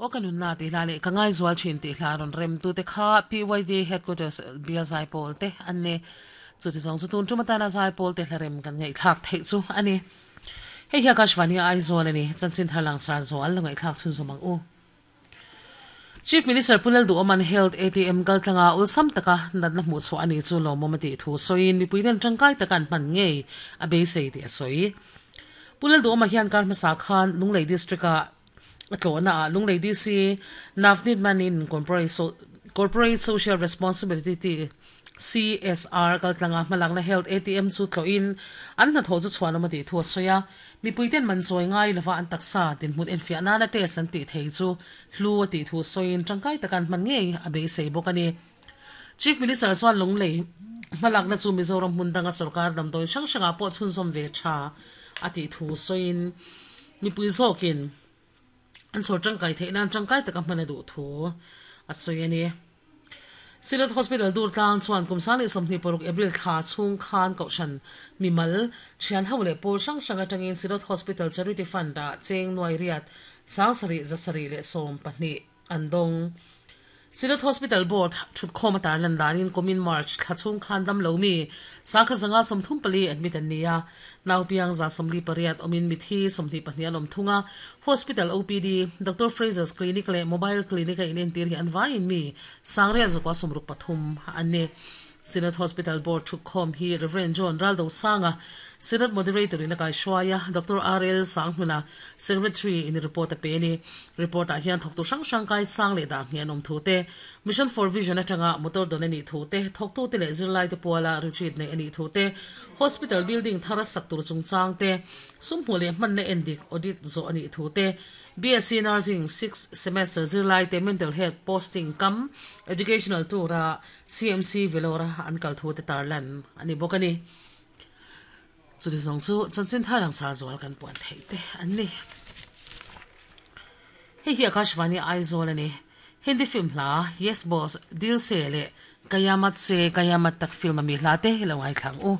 Aw ka nunna tih hla leh ka ngaizual thin tih hla rawn rem tute kha PYD Headquarters bial zaipawl te an ni. Chuti zawng chu tun tum atana zaipawl te hla rem kan ngaihthlak theih chu a ni. Hei hi Akashvani Aizawl a ni. Chanchin thar langsar zual lo ngaihthlak chhunzawm ang u. Chief Minister Pu Lalduhawman Health ATM kaltlanga awlsam taka natna hmuh chhuah a ni chu lawmawm a tih thu sawiin mipuiten tangkai taka an hman ngei a beisei tih a sawi. Pu Lalduhawma hian kar hmasa khan Lunglei District-ah a tlawhna ah Lunglei DC Navneet Manin Corporate Social Responsibility, CSR, kaltlanga hmalakna Health ATM chu tlawhin an hnathawh chu chhuanawm a tih thu a sawi a. Mipuiten man chawi ngai lova an taksa dinhmun enfiah nana test an tih thei chu hlu a tih thu sawiin tangkai taka an hman ngei a beisei bawk a ni. Chief Minister chuan Lunglei hmalakna chu Mizoram hmun danga sorkar damdawi hrang hrangah pawh chhunzawm ve tha a tih thu sawiin mipui zawkin an chhawr tangkai theih nan tangkai taka hman a duh thu a sawi a ni. Synod Hospital Durtlang chuan kum 2026 April thla chhung khan Kohhran mimal, thianho leh pawl hrang hrang atangin Synod Hospital Charity Fund-ah cheng nuai riat 7712 an dawng. Synod Hospital Board thutkhawm a tarlan danin kumin March thla chhung khan damlo mi sakha zanga 34 admit an ni a, naupiang 48 awmin mithi 22 an awm thung a. Hospital OPD, Doctor Fraser's Clinic leh Mobile Clinic a inentir hi an vaiin mi sangriat zakua 63 an ni. Synod Hospital Board thutkhawm hi Rev. John Raldosanga, Synod Moderator in a kaihruai a, Doctor RL Sanghnuna, Secretary in report a pe a ni. Report ah hian thawktu hrang hrang kai sang leh dah hnih an awm thu te, Mission for Vision atanga motor dawn a nih thu te, thawktute leh zirlaite puala retreat neih a nih thu te, Hospital building thar a sak tur chungchang te, sum hmuh leh hmanna endik, audit, zawh a nih thu te, BSc Nursing sixth semester zirlaite mental health posting kam educational tour a CMC Vellore a an kal thu te tarlan a ni bawk a ni. Chumi zawng chu chanchin thar langsar zual kan puan theih te an ni. Hei hi Akashvani Aizawl a ni. Hindi film hla Yes Boss, Dil Se leh Kayamat Se Kayamat Tak film a mi hla te lo ngaithla ang u.